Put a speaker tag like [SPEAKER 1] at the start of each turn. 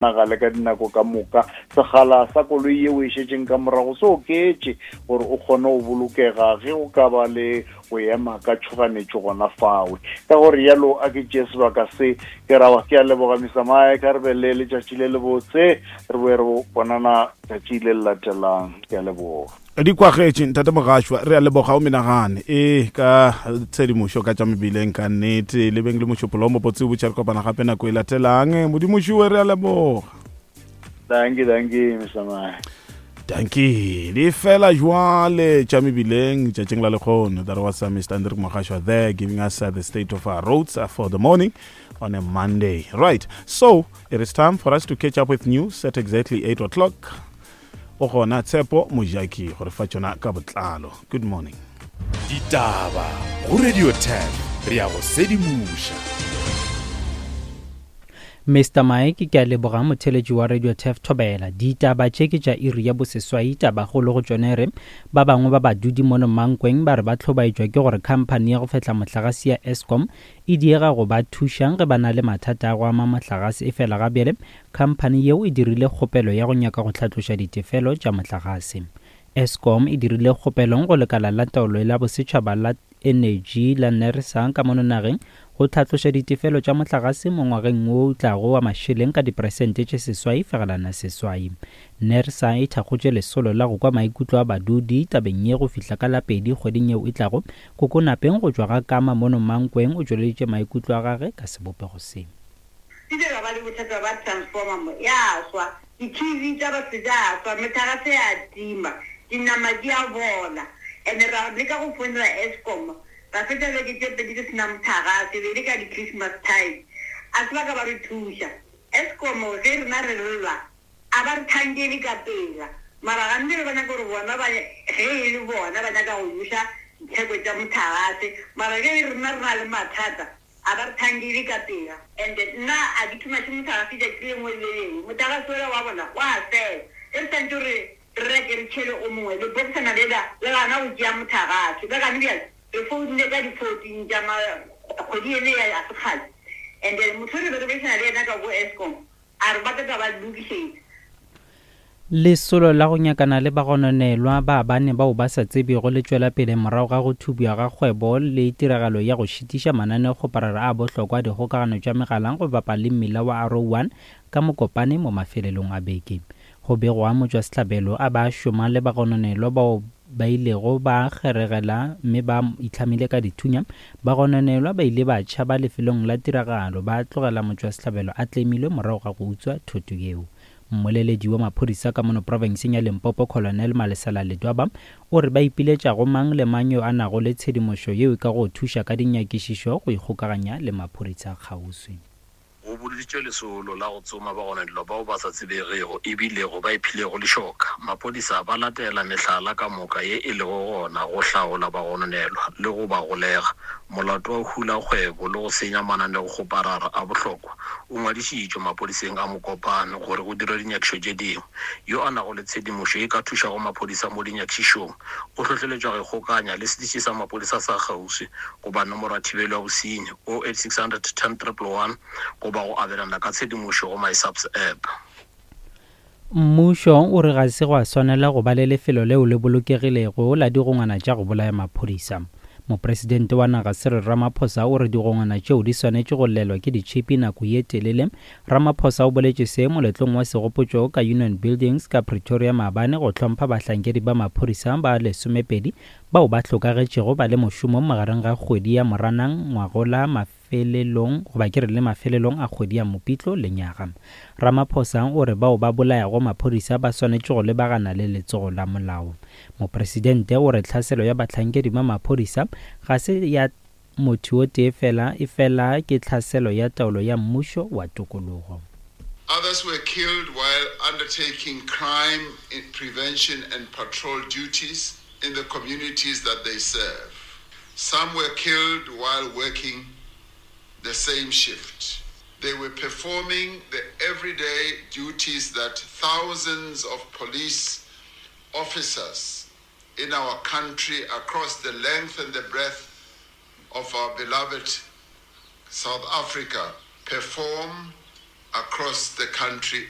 [SPEAKER 1] Nagale ka dinako ka moka. Sekgala sa koloi yeo e šetšeng ka morago se oketše gore o kgone go bolokega ge go ka ba le go ema ka tšhoganetšo gona fawe. Ka go rialo a ke tšee sebaka se ke ra ke a leboga Mister Mike, a re be le letšatši le lebotse, re boe re bonana tšatši le le latelang. Ke a leboga.
[SPEAKER 2] Di kwagetše ntate Mogašwa, re a leboga o menagane e ka tshedimošo ka tša mebileng ka nnete. Le beng le mošupolo o mobotse o botša re kopana gape nako e latelang. Modimo šiwe re a leboga.
[SPEAKER 1] Dankie, dankie, Mr. Mike.
[SPEAKER 2] Dankie. Di fela jwale tša mebileng tšatšing la lekgono. That was Mr. Hendrik Mogashwa there giving us the state of our roads for the morning on a Monday. Right. So, it is time for us to catch up with news at exactly 8 o'clock. O gona Tshepo Mojaki go re fa tšona ka botlalo. Good morning.
[SPEAKER 3] Ditaba go Radio 10 re ya go sedimoša.
[SPEAKER 4] Mister Mike, ke a leboga motheletši wa Radio Turf Thobela. Ditaba tše ke tša iri ya boseswai, tabakgolo go tšona e re ba bangwe ba badudi mono Mankweng ba re ba hlobaetšwa ke gore khamphani ya go fehla mohlagase ya Eskom e diega go ba thuša ge ba na le mathata a go ama mohlagase efela ga bjale Khamphani yeo e dirile kgopelo ya go nyaka go hlatloša ditefelo tša mohlagase. Eskom e dirile kgopelo go lekala la taolo la bosetšhaba la enetši la NERSA ka mono nageng go hlatloša ditefelo tša mohlagase mo ngwageng wo o tlago wa mašeleng ka diperesente tše 8.8. NERSA e thakgotše lesolo la go kwa maikutlo a badudi tabeng ye go fihla ka la pedi kgweding yeo e tlago. Kokonapeng go tšwa ga Kama mono Mankweng o tšweleditše maikutlo a gage ka sebopego se.
[SPEAKER 5] Ke ile ra ba le bothata ba transformer mo, ya swa, di-TV tša batho tša swa, mehlagase ya tima, dinama di a bola. And ra leka go founela Eskom, ra fetša beke tše pedi re se na mohlagase, e be e le ka di-Christmas time. A se ba ka ba re thuša. Eskom ge rena re lla, a ba re thankele ka pela. Mara gantši ba nyaka gore bona ba, ge e le bona ba nyaka go buša ditheko tša mohlagase, mara ge rena re na le mathata, A ba re thankile ka pela. And nna a ke thumaše mohlagase tšatši le lengwe le le lengwe. Mohlagase wola wa bona wa fela. Ge re swantše gore re reke re tšhele o mongwe, lebokisana lela le gana go tšea mohlagase. Le gane bjale re founile ka di 14 tša ma kgwedi ene ya sekgale. And motho re be re boledišana le yena ka ko Eskom A re ba tla tla ba lokišetša.
[SPEAKER 4] Lesolo la go nyakana le bagononelwa ba bane bao ba sa tsebjego le tšwela pele morago ga go thubja ga kgwebo le tiragalo ya go šitiša mananeokgoparara a bohlokwa a dikgokagano tša megala go bapa le mmila wa Arrow One ka Mokopane mo mafelelong a beke. Go begwa motšwasehlabelo a ba šoma le bagononelwa bao ba ilego ba kgeregela mme ba itlhamile ka dithunya. Bagononelwa ba ile ba tšhaba lefelong la tiragalo ba tlogela motšwasehlabelo a tlemilwe morago ga go utswa thoto yeo. Mmoleledi wa maphodisa ka mono profenseng ya Limpopo Colonel Malesela Ledwaba o re ba ipiletša go mang le mang yo a nago le tshedimošo yeo e ka go thuša ka dinyakišišo go ikgokaganya le maphodisa kgauswi.
[SPEAKER 6] Go boloditšwe lesolo la go tsoma bagononelwa bao ba sa tsebegego e bilego ba iphilego lešoka. Maphodisa ba latela mehlala ka moka ye e lego gona go hlaola bagononelwa le go ba golega. Molato wa go hula kgwebo le go senya mananeokgoparara a bohlokwa o ngwadišitšwe maphodiseng a Mokopane gore go dirwe dinyakišo tše dingwe. Yo a nago le tshedimošo ye ka thušago maphodisa mo dinyakišišong o hlohleletšwa go ikgokanya le setiši sa maphodisa sa kgauswi goba nomoro ya thibelo ya bosenyi 08600 10 111 goba go abelana ka tshedimošo go MySAPS app.
[SPEAKER 4] Mmušo o re ga se gwa swanela go ba le lefelo leo le bolokegilego la digongwana tša go bolaya maphodisa. Mopresidente wa naga Cyril Ramaphosa o re digongwana tšeo di swanetše go llelwa ke ditšhipi nako ye telele. Ramaphosa o boletše se moletlong wa segopotšo ka Union Buildings ka Pretoria maabane go hlompha bahlankedi ba maphodisa ba lesomepedi bao ba hlokagetšego ba le mošomong magareng ga kgwedi ya Moranang ngwagola mafelelong goba ke re le mafelelong a kgwedi ya Mopitlo lenyaga. Ramaphosa o re bao ba bolayago maphodisa ba swanetše go lebagana le letsogo la molao. Mopresidente o re tlhaselo ya bahlankedi ba maphodisa ga se ya motho o tee fela efela ke tlhaselo ya taolo ya mmušo wa tokologo.
[SPEAKER 7] Others were killed while undertaking crime prevention and patrol duties in the communities that they serve. Some were killed while working the same shift. They were performing the everyday duties that thousands of police officers in our country across the length and the breadth of our beloved South Africa perform across the country.